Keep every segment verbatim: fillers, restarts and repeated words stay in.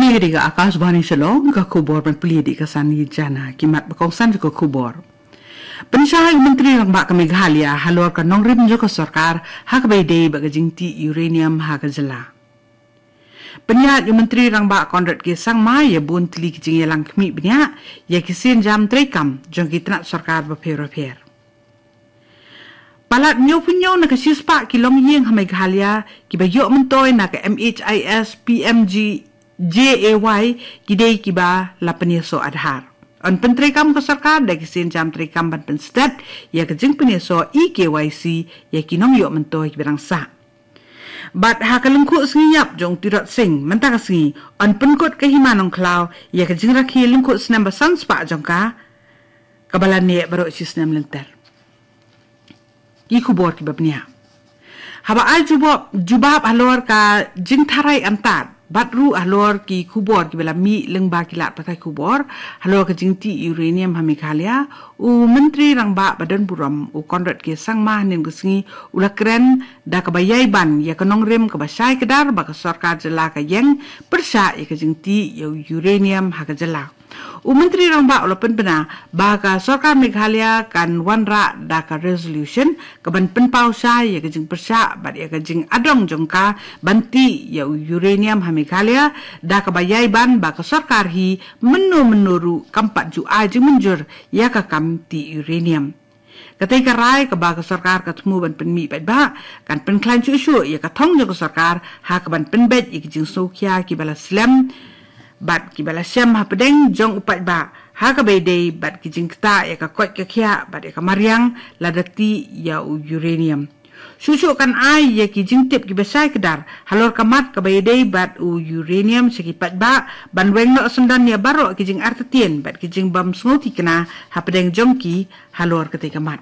Ïa dei ka Akashvani Shillong, ka khubor ban plie dei ka Sani Jana, ki mat ba kongsan jong ka khubor. Pynshai u Myntri Rangbah ka Meghalaya halor ka nongrim jong ka sorkar ha kaba ïadei bad ka jingtih uranium ha ka jylla. Pynïaid u Myntri Rangbah Conrad K Sangma ïa bun tylli ki jingïalang khmih bniah ïa ki sienjam treikam jong ki tnat sorkar bapher bapher. Palat hynñiewphew hynñiew na ka shispah ki longïing ha Meghalaya kiba ïoh myntoi na ka M H I S P M G J A Y ki dei kiba la pynïasoh Aadhaar. Yn pyntreikam ka sorkar da ki sienjam treikam ban pynstet ïa ka jingpynïasoh e-K Y C ïa ki nongïoh myntoi kiba dang sah. Bad ha ka lyngkhuh sngi ïap jong u Tirot Sing mynta ka sngi, yn pynkut ka Hima Nongkhlaw ïa ka jingrakhe lyngkhuh snem ba san spah jong ka, kaba la neh baroh shi snem lynter. Ki khubor kiba bniah. Haba ai jubab, jubab halor ka jingtharai antad bad ruh halor ki khubor kiba la mih lyngba ki lad pathai khubor halor ka jingtih uranium ha Meghalaya, u Myntri Rangbah ba don burom u Conrad K Sangma hynnin ka sngi u la kren da kaba ïai ban ïa ka nongrim kaba shai kdar ba ka sorkar jylla ka ïeng pyrshah ïa ka jingtih ïa u uranium ha ka jylla. U Myntri Rangbah u la pynbna ba ka sorkar Meghalaya kan wanrah da ka resolution kaban pynpaw shai ïa ka jingpyrshah bad ïa ka jingadong jong ka ban tih ïa u uranium ha Meghalaya, da kaba ïai ban ba ka sorkar hi mynno mynno ruh kam pat ju ai jingmynjur ïa ka kam tih uranium. Katei ka rai kaba ka sorkar ka thmu ban pynmih paidbah kan pynkhlaiñ shuh shuh ïa ka thong jong ka sorkar ha kaban pynbeit ïa ki jingsngewkhia kiba la slem bad kiba la shem hapdeng jong u paidbah ha kaba ïadei bad ki jingktah ïa ka koit ka khiah bad ïa ka mariang lada tih ïa u uranium. Shuh shuh kan ai ïa ki jingtip kiba shai kdar halor ka mat kaba ïadei bad u uranium sha ki paidbah ban weng noh syndon ïa baroh ki jingartatien bad ki jingbym sngewthikna hapdeng jong ki halor katei ka mat.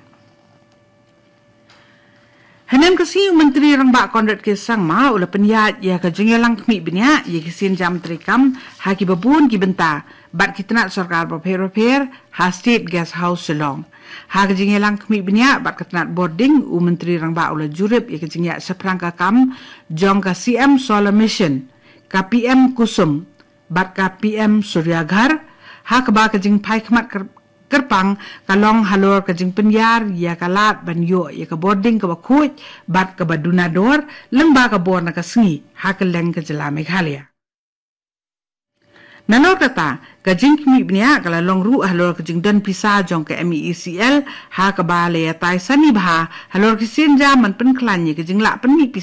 Hynnin ka sngi u Myntri Rangbah Conrad K Sangma u la pynïaid ïa ka jingïalang khmih bniah ïa ki sienjam treikam ha kiba bun ki bynta bad ki tnat sorkar bapher bapher ha State Guest House Shillong. Ha ka jingïalang khmih bniah bad ka tnat bording, u Myntri Rangbah u la jurip ïa ka jingïaid shaphrang ka kam jong ka C M Solar Mission, ka P M Kusum bad ka P M Surya Ghar, ha kaba ka jingphai khmat kyrpang ka long halor ka jingpynïar ïa ka lad ban ïoh ïa ka bording kaba khuid bad kaba duna dor lyngba ka bor na ka sngi ha kylleng ka jylla Meghalaya. Nalor kata, ka jingkhmih bniah ka la long ruh halor ka jingdon pisa jong ka M E E C L ha kaba la ïatai sani bha halor ki sienjam ban pynkhlaiñ ïa ka jinglah pynmih pisa